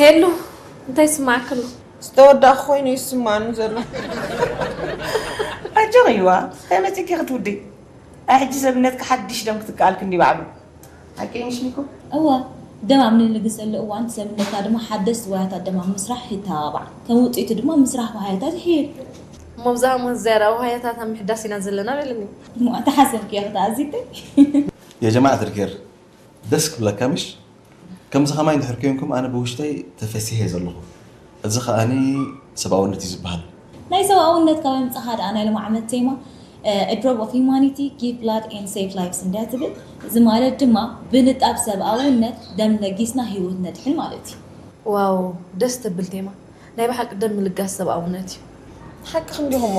ሄሉ፣ እንታይ ይስማዕክሉ? ዝተወዳእኩ ኮይኑ ይስማኒ ዘሎ። ኣጆኺ ኢልዋ፣ እንታይ መፂኪ ክትውዲ? ኣይ ሕጂ ሰብነትካ ሓድሽ ደም ክትከኣል ክንዲ ባዕሉ ሓቂ ምሽ ሚኮ። እወ፣ ደም ኣብ ንልግሰሉ እዋን ሰብነትና ድማ ሓደስቲ ዋህያታት ደም ኣብ ምስራሕ ይተባባዕ። ከም ውፅኢቱ ድማ ምስራሕ ዋህያታት ይሕይል። እሞ ብዛዕባ ዝያዳ ዋህያታት ኣብ ምሕዳስ ኢና ዘለና በልኒ። እሞ ኣተሓሰብክዮ ክትኣዚተይ? የጀማዓት ልከር ደስ ክብለካ ምሽ? ከምዚ ከማይ እንድሕር ኮንኩም ኣነ ብውሽጠይ ተፈሲሐ ዘለኹ። እዚ ከኣኒ ሰብኣውነት እዩ ዝበሃል። ናይ ሰብኣውነት ካብ ኣምጻኻ ደኣ ናይ ሎም ዓመት ቴማ A drop of humanity give blood and save lives እንድያ ትብል። እዚ ማለት ድማ ብንጣብ ሰብኣውነት ደም ለጊስና ህይወት ነድሕን ማለት እዩ። ዋው፣ ደስ ተብል ቴማ። ናይ ብሓቂ ደም ምልጋስ ሰብኣውነት እዩ። ሓቂ ክንዲኹሞ።